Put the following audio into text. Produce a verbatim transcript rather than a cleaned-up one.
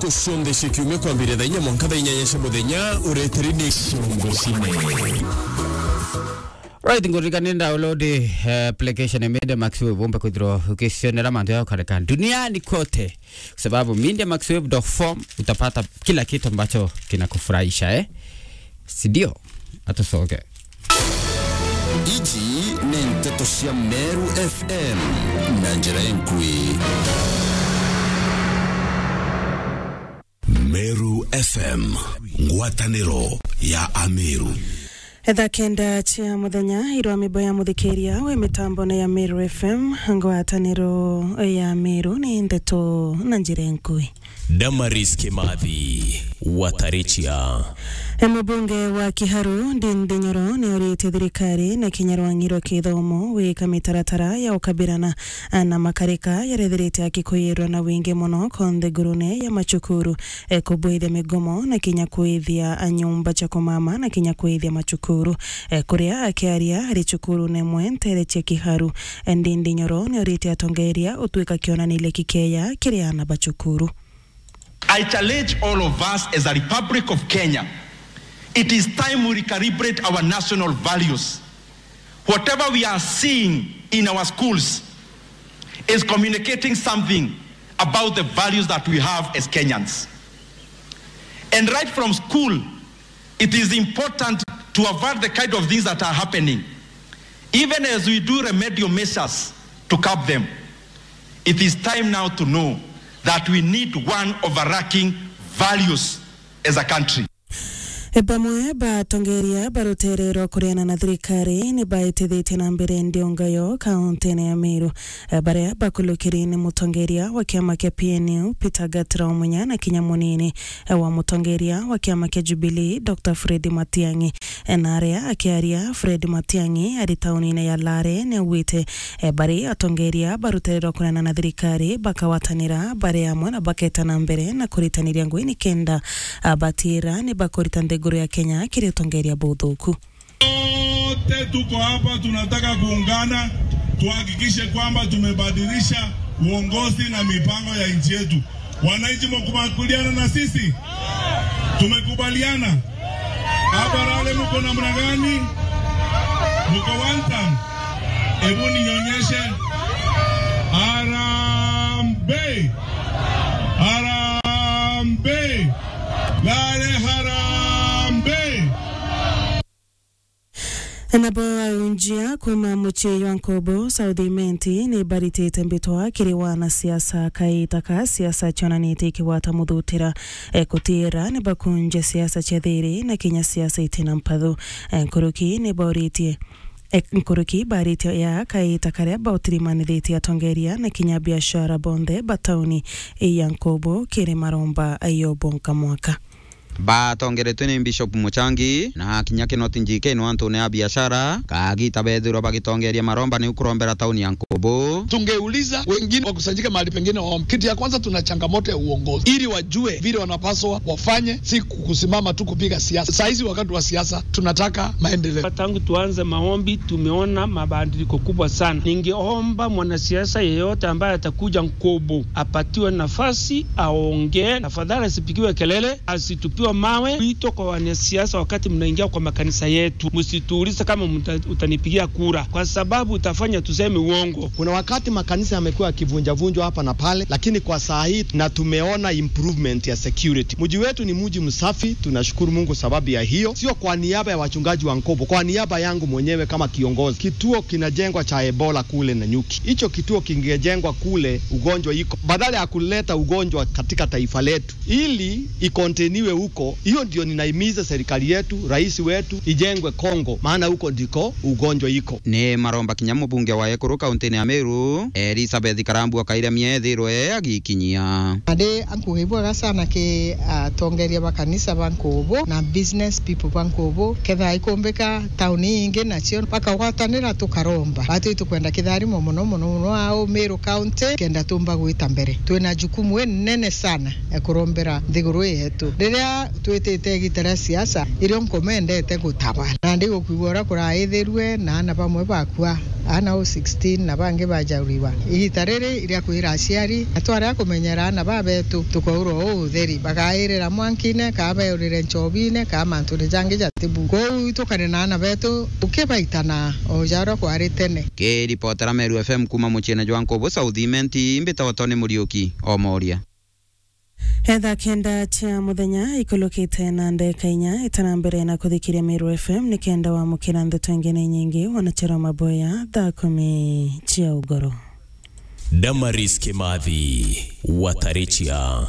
Ntuku cionthe cia kiumia kwambiria thaa inya mwanka thaa inyanya cia muthenya, ureteri ni Ciongo Cine. Right, ngurikania download, eh, application ya Media Max Wave, umbe kwithirwa ukicionera mantu ya ukareka duniani kote. Kwa sababu Media Max Wave dot com utapata kila kitu ambacho kinakufurahisha, eh? Si ndio? Atucoke. Iji ni nteto cia Meru F M na njira inkui. Meru F M, ngwataniro ya Ameru. Thaa kenda cia muthenya, irwa mibo ya muthikiria wi mitambone ya Meru F M, ngwataniro ya Meru ni nteto na njira inkui. Damaris Kimathi, Watarichia. E, mubunge wa Kiharu, Ndindi Nyoro, nioritie thirikari na kinya rwang'i rwa kithomo gwika mitaratara ya ukabirana na makarika yarethirite akikuyirwa na wingi mono konthe ngurune ya macukuru, e, kubwithia migomo na kinya kwithia nyumba cia kumama na kinya kwithia macukuru. E, kuria akiaria ari cukurune imwe ntere cia Kiharu, e, Ndindi Nyoro nioritie atongeria utwika kionaniria kikeya kiri aana ba cukuru. I challenge all of us as a Republic of Kenya. It is time we recalibrate our national values. Whatever we are seeing in our schools is communicating something about the values that we have as Kenyans. And right from school, it is important to avert the kind of things that are happening, even as we do remedial measures to curb them. It is time now to know that we need one overarching values as a country. E, bamwe ba atongeria ba rutere rwa kuriana na thirikari ni baitithitie na mbere ndiungayo kauntine ya Meru, e, baria bakulukiri ni mutongeria wa kiama kia P N U, Peter Gatira Omunya, na kinya munini, e, wa mutongeria wa kiama kia Jubilee, Doctor Fred Matiang'i. E, na aria akiaria, Fred Matiang'i ari taunine ya Lare ni augite, e, bari atongeria ba rutere rwa kuriana na thirikari bakagwatanira bari amwe na baketa na mbere na kuritaniria ngui nikenda, a, batira ni bakurita nthiguru ya Kenya kiri utongeria buthuku. Wote tuko hapa, tunataka kuungana, tuhakikishe kwamba tumebadilisha uongozi na mipango ya nchi yetu. Wananchi, mkubaliana na sisi? Tumekubaliana. Hapa Lare mko namna gani? Mko one term? Hebu nionyeshe. Harambee! Harambee! Lare harambee! Nabo aunjia kuma mucii jwa Nkobo South Imenti ni baritite mbitwa kiri wanasiasa kaita ka siasa cionanitie ikigwata muthutira, e, kutira ni bakunje siasa cia thiri na kinya siasa itina mpathu. E, nkuruki ni bauritie, e, nkuruki baritie ya kaita karia bautirimanithitie atongeria na kinya biashara bonthe ba tauni ya Nkobo kiri maromba yo bonka mwaka. Batongeretwe ni Bishop Muchangi na kinya Kinoti Njike no antune ya biashara, kagita bethirwa bagitongeria maromba ni kurombera tauni ya Nkobo. Tungeuliza wengine wakusanyike mahali pengine waombe. Kitu ya kwanza, tuna changamoto ya uongozi, ili wajue vile wanapaswa wafanye, si kusimama tu kupiga siasa. Saa hizi wakati wa siasa, tunataka maendeleo. Tangu tuanze maombi, tumeona mabadiliko kubwa sana. Ningeomba mwanasiasa yeyote ambaye atakuja Nkobo apatiwe nafasi aongee, tafadhali asipigiwe kelele, asitupiwe mawe. Wito kwa wanasiasa, wakati mnaingia kwa makanisa yetu, msituulize kama mta-, utanipigia kura, kwa sababu utafanya tuseme uongo. Kuna wakati makanisa yamekuwa yakivunjavunjwa hapa na pale, lakini kwa saa hii na tumeona improvement ya security. Mji wetu ni mji msafi, tunashukuru Mungu sababu ya hiyo. Sio kwa niaba ya wachungaji wa Nkobo, kwa niaba yangu mwenyewe kama kiongozi. Kituo kinajengwa cha Ebola kule Nanyuki. Hicho kituo kingejengwa kule, ugonjwa iko. Badala ya kuleta ugonjwa katika taifa letu, ili ikonteniwe huko. Hiyo ndio ninahimiza serikali yetu, rais wetu, ijengwe Kongo, maana huko ndiko ugonjwa iko. Ni maromba kinya mubunge wa ekuru kauntini ya Meru, Elizabeth Karambua Kairamia, ethirwe agikinyia. Ade ankuge ibwega sana ki atongeria ba kanisa ba Nkubu na business people ba Nkubu. Ketha ikumbika tauni ingi nacio bakagwatanira tukaromba. Batu itukwenda kitharimo muno muno muno au Meru County kenda tumba gwita mbere. Twina jukumu inene sana ya kurombera nthiguru yetu. Riria twitite igita ria siasa, irio nkumendete gutaba. Na ndigukwigua uria kuraithirue na ana bamwe bakua. Ana o sixteen na bangi bajauriwa. Igita riri iria kwira aciari, na twaria kumenyera ana babetu, tukaurwa uu utheri. Bagairira mwankine, kaa beurire nchobine, kaa mantune jangi jatibu. Kwou itukare na ana betu, ukibaitana o jaria kwari tene. Kiripotera Meru F M kuuma muciine jwa Nkubu South Imenti, mbitagwa Tony Muriuki, Omoria. Etha kenda cia muthenya ikulukite na ndeka inya itana mbere na kuthikiria Meru F M, ni kenda wamukira ndeto ingi na inyingi, wanachera maboya thaa kumi cia ugoro. Damaris Kimathi, Watarichia.